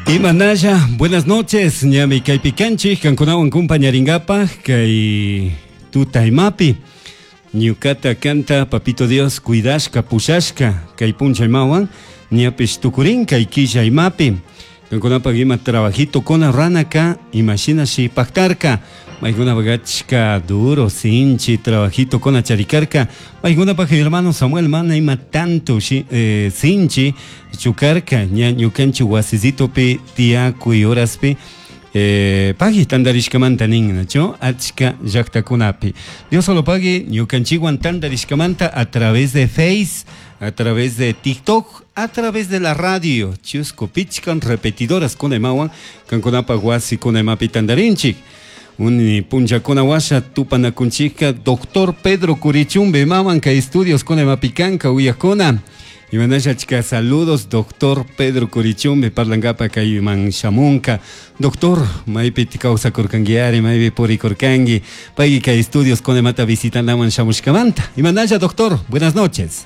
Imanalla, buenas noches, ñami kaypi kanchik, kankunawan kumpañaringapaj kay tutaymapi. Ñukata kanta Papito Dios cuidashka, pushashka kay punchaymawan ñapish tukurin kay killaymapi. Kankunapaj ima trabajito kuna ranaka imashinashi pactarka. Maykunapaj achka duro, sinchi trabajito kuna charikarka. Maykunapaj hermano Samuel mana ima tanto sinchi chukarka ña ñukanchik wasisitopi tiyakuy horaspi pagui tandarishkamanta nin, nachu? Achka llaktakunapi. Dios solo pagui ñukanchikwan tandarishkamanta a través de Face, a través de TikTok, a través de la radio, chusku pichkan repetidoras kunaymawan kankunapaj wasi kunaymapi tandarinchik. Uni punllakuna washa tupanakunchikka doctor Pedro Curichumbe maman kay estudios kunaymapi kanka uyakuna. Imanasha achka saludos doctor Pedro Curichumbe parlangapa kayman shamunka. Doctor, maypi kawsakurkanki maypi purikurkanki, payki kay estudios kunaymata visitanaman shamushkamanta. Imanasha doctor, buenas noches.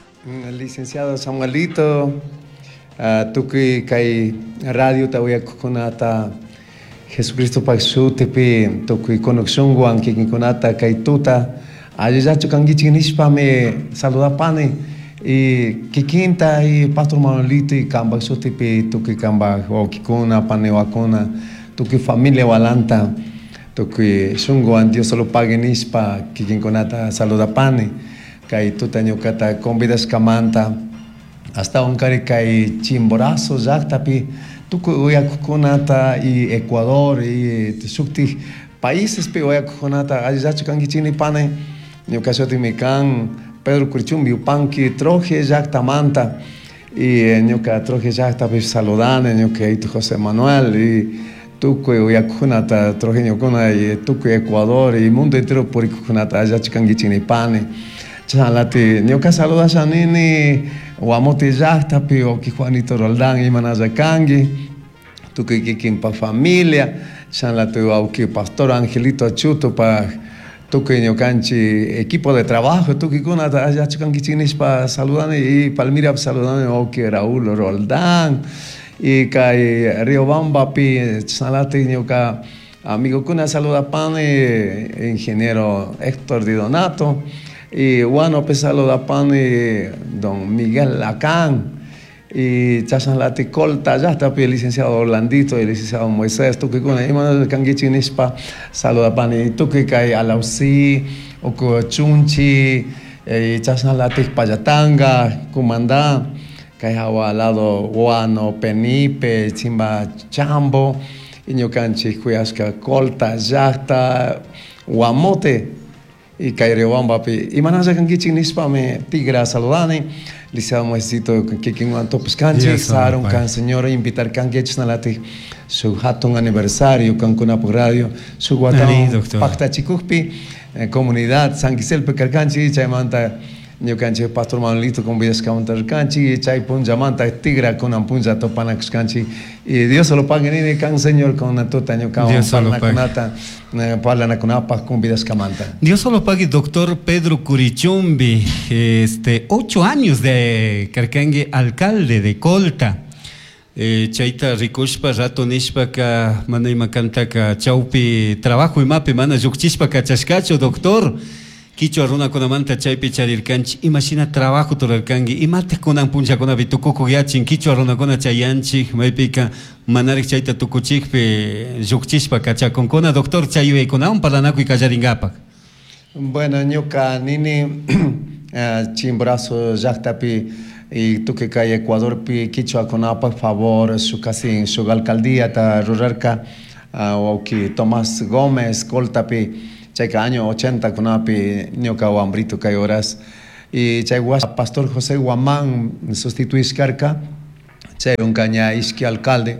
Licenciado Samuelito, tukuy kay radiota uyakuqkunata Jesucristopaq sutipi tukuy conexiónwan kikinkunata kay tuta allillachu kankichik nishpami saludapani y kikinta y Pastor Manuelito y kanpak sutipi tukuy kanpak wawkikuna paniwakuna tukuy familia walanta tukuy shunkuwan Dios solo pague nishpa kikinkunata saludapani kay tuta ñukata convidashkamanta astawan kari kay Chimborazo llaqtapi tukuy uyakuqkunata y Ecuador y shuktik paísespi uyakuqkunata allillachu kankichik nipani ñuka shutimi kan Pedro Curichumbi Yupanqui Troje llaqtamanta y ñuka Troje llaqtapi saludani ñuka yayitu José Manuel y tukuy uyakuqkunata trojeñokuna y tukuy Ecuador y mundo entero purikuqkunata allillachu kankichik nipani chashnalati ñuka saludasha nini Guamote llaqtapi wawki Juanito Roldán imanalla kanki tukuy kikinpa familia chashnalati wawki Pastor Angelito Achutopaj tukuy ñukanchik equipo de trabajo tukuykunata allillachu kankichik nishpa saludani y Palmirapi saludani wawki Raúl Roldán y kay Riobambapi chashnalati ñuka amigokuna saludapani ingeniero Héctor Di Donato y Huánupe saludapani don Miguel Lacán y chashnalati Colta llaqtapi licenciado Orlandito y licenciado Moisés tukuykuna imanalla kankichik nishpa saludapani tukuy kay Alausí uku Chunchi y chashnalatik Pallatanga Cumandá kay hawa lado Guano Penipe Chimba Chambo y ñukanchik kuyashka Colta llaqta Guamote y kay Riobambapi imanalla kankichik nishpami tigra saludani licenciado Moisésito kikinwan tupashkanchik sarun kan señor invitar kanki chashnalatik shuk hatun aniversario kankunapuk radio shuk watawan paktachikukpi comunidad San Quiselpi karkanchik chaymanta ñukanchik Pastor Manuelito convidashkamanta rirkanchik chay punllamanta tigra kunan punlla tupanakushkanchik y Dios solo pague nini kan señor con tuta ñukawan parlanakunata parlanakunapaj convidashkamanta. Dios solo pague doctor Pedro Curichumbi, 8 años de karkanki alcalde de Colta. Chayta rikushpa rato nishpaka mana ima kantaka chawpi trabajo imapi mana llukchishpa kachashkachu doctor. Kichwa runakunamanta chaypi charirkanchik imashina trabajo turarkanki imatik kunan punllakunapi tukukuq yachin kichwa runakuna chayanchik maypika manarik chayta tukuchikpi llukchishpa kachakunkuna doctor chay yuyaykunawan parlanakuy qallarinkapak. Bueno, ñuka nini Chimborazo llaqtapi y tukuy kay Ecuadorpi kichwakunapaq favor shuk kasi shuk alcaldíata rurarka wawki Tomás Gómez Coltapi chayka año 80 kunapi ñuka wambrito kay horas y chay Pastor José Guamán sustituishkarka chay unka ña ishki alcalde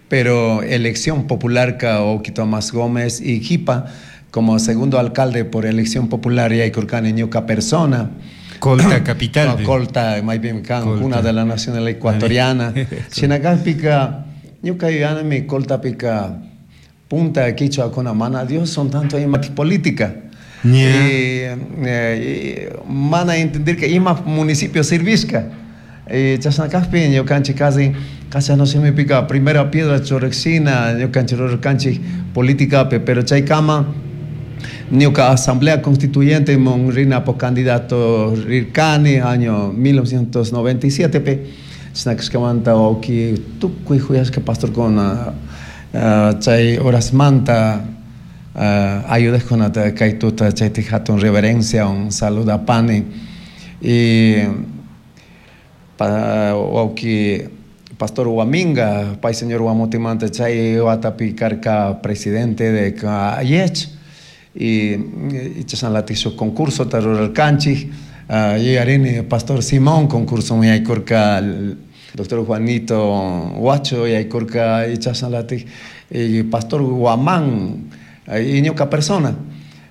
pero elección popular ka wawki Tomás Gómez y jipa como segundo alcalde por elección popular yaykurkani ñuka persona. Colta capital. No, Colta, maypimi kan, cuna de la nacional ecuatoriana. Shinakajpika ñuka yuyanimi Coltapika punta kichwakuna mana Dios son tanto ima política. Y mana entenderka ima municipio servishka. Chashna kajpi ñukanchik casi Castellano shimipika primera piedra churashina ñukanchik rurarkanchik politicapi, pero chaykama ñuka asamblea constituyente mon rinapak candidato rirkani año 1997 pi. Chashna kashkamanta wawki tukuy juyashka pastorkuna chay horasmanta ayudajkunata kay tuta chaytik hatun reverenciawan saludapani. Y wawki pastor Huaminga, pay señor Huamutimanta chay watapi karka presidente de AYECH y chashnalatik shuk concursota rurarkanchik. Yuyarini pastor Simón concurso yaykurka, doctor Juanito Huacho yaykurka y chashnalatik y pastor Guamán y ñuka persona.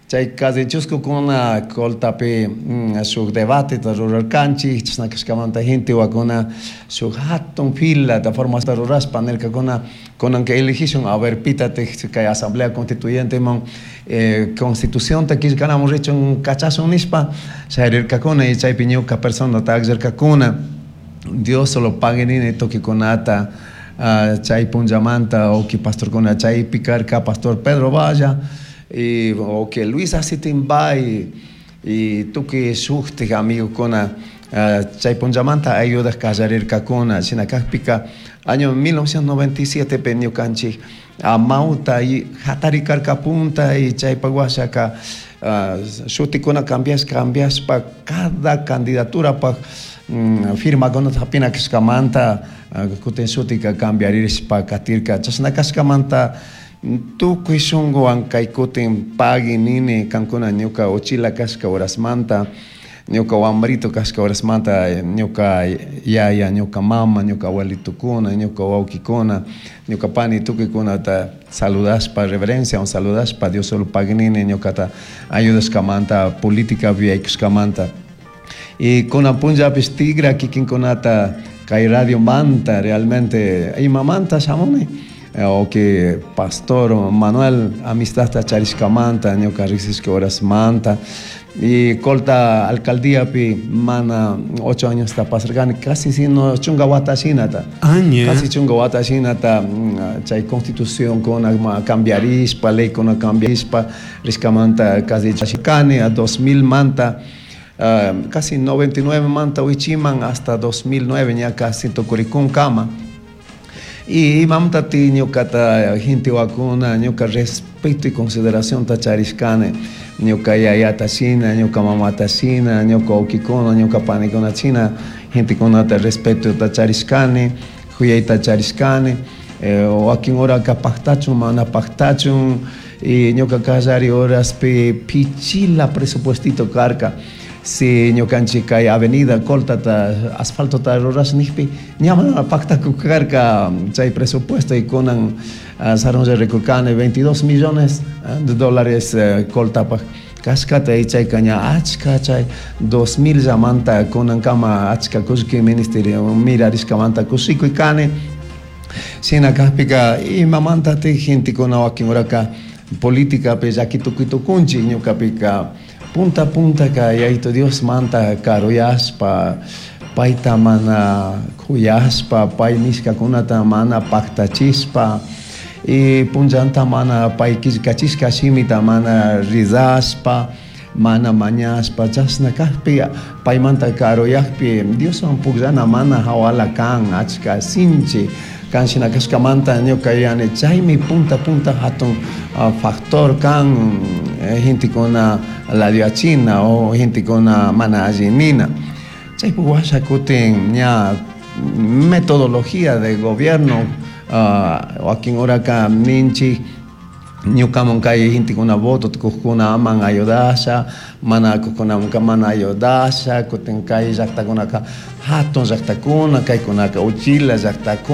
Chay casi chuscukuna Coltapi shuk debateta rurarkanchik, chashna kashkamanta gente wakuna shuk hatun fila de forma rurashpa nirkakuna kunanka eligishun a ver pitatik kay asamblea constituyente man constitución ta killkanamun richun kachashun nishpa sharirkakuna y chaypi ñuka personata akllarkakuna. Dios solo pague nini tukikunata chay punllamanta uki pastorkuna chaypi karka pastor Pedro Valla y o que Luis Asitimbay y tukuy shuktik amigokuna chay punllamanta ayudak kallarirkakuna. Shina kakpika año 1997 pe ñukanchik amawta y hatari karka punta y chaypak washaka shutikuna cambiashpa cada candidatura pak firmakunata hapina kashkamanta kutin shutika cambiaririshpa katirka. Chashna kashkamanta tukuy shunkuwan kay kutin pagui nini kankuna ñuka uchila kashka horasmanta, ñuka wambrito kashka horasmanta, ñuka yaya, ñuka mama, ñuka abuelitukuna, ñuka wawkikuna, ñuka pani tukuykunata saludashpa, reverencia saludashpa, Dios solo pagui nini ñukata ayudashkamanta, política yaykushkamanta. Y kunan punllapish tigra kikinkunata kay radio manta realmente imamanta shamuni. O que pastor Manuel amistadta charishkamanta ñuka riksishka horasmanta y Colta alcaldía pi mana 8 años ta pasarkani casi sino chunka wata shinata. Aña. Casi chunka wata shinata, chay constitución kuna cambiarishpa, ley kuna cambiarishpa rishkamanta casi chashikani a 2000 manta, casi 99 manta wichiman hasta 2009 ña casi tukurikun kama. Y imamta ti ñukata gente wakuna ñuka respeto y consideración ta charishkani ñuka yayata shina, ñuka mamata shina, ñuka wawkikuna, ñuka panikuna shina, gentekunata respeto ta charishkani, juyayta charishkani, wakin horaka paktachun mana paktachun, y ñuka kallari horaspi pichila presupuestito karka. Si ñukanchik kay avenida Coltata asfaltota rurash nijpi ña mana paktaku karka chay presupuesto y kunan sarunlla rikurkani 22 millones de dólares Coltapaj kashkata y chayka ña achka chay 2000 llamanta kunankama achka kullki ministerio mirarishkamanta kushikuy kani. Shina kajpika imamantatik gentekuna wakin horaka politicapi llaki tukuy tukunchik ñukapika punta punta ka Yaito Dios manta karuyashpa payta mana kuyashpa pay nishkakunata mana paktachishpa y punllanta mana pay killkachishka shimita mana rizashpa mana mañashpa chashna kajpi paymanta karuyakpi Dioswan pukllana mana hawala kan achka sinchi kan shina kashkamanta ñuka yuyani chaymi punta punta hatun factor kan gentekuna ladioachina o gentekuna mana alli nina. Chaypi washa kutin ña metodología de gobierno, wakin horaka ninchik ñukaman kay gentekuna voto tukujkuna aman ayudasha, mana kujkunamanka mana ayudasha, kutin kay llaktakunaka hatun llaktakuna, kaykunaka uchila llaktakuna.